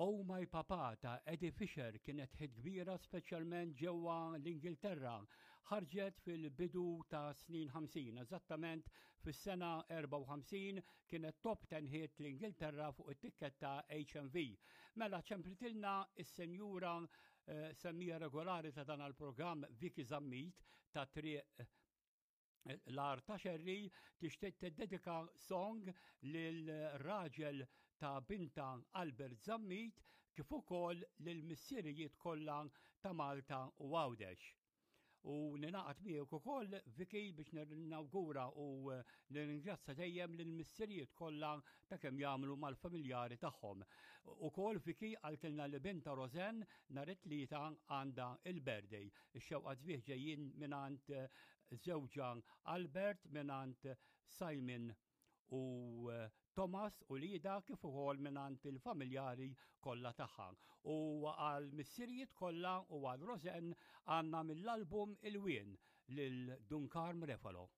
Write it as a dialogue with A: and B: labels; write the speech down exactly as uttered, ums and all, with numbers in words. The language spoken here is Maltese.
A: Oh My Papa ta' Eddie Fisher kienet hit kbira, speċjalment ġewwa l-Ingilterra. Ħarġet fil-bidu ta' snin ħamsin, eżattament fis-sena erbgħa u ħamsin kienet top ten hit l-Ingilterra fuq it-tikketta H M V. Mela ċemplitilna is-senjura eh, semmija regolari ta' dan il-programm, Vicky Zammit ta' Triq l-Għar ta' Xerri, tixtieq tiddedika song lil raġel ta' binta Albert Zammit kif ukoll lil missirijiet kollha ta' Malta u Għawdex. U ninaqat miegħek ukoll, Vicky, biex nawgura u nirringrazzja dejjem lil missirijiet kollha ta' kemm jagħmlu mal-familjari tagħhom. Ukoll Vicky qaltilna li binta Rosen nhar it-Tlieta għandha il-birthday. Ix-xewqa sbieħ ġejjin mingħand żewġha Albert, mingħand Simon u eh, Thomas u Lida, kif ukoll mingħand il-familjari kollha tagħha. U għal missirijiet kollha u għal Rosen għandna mill-album Il-Wien lil Dun Karm Refalo.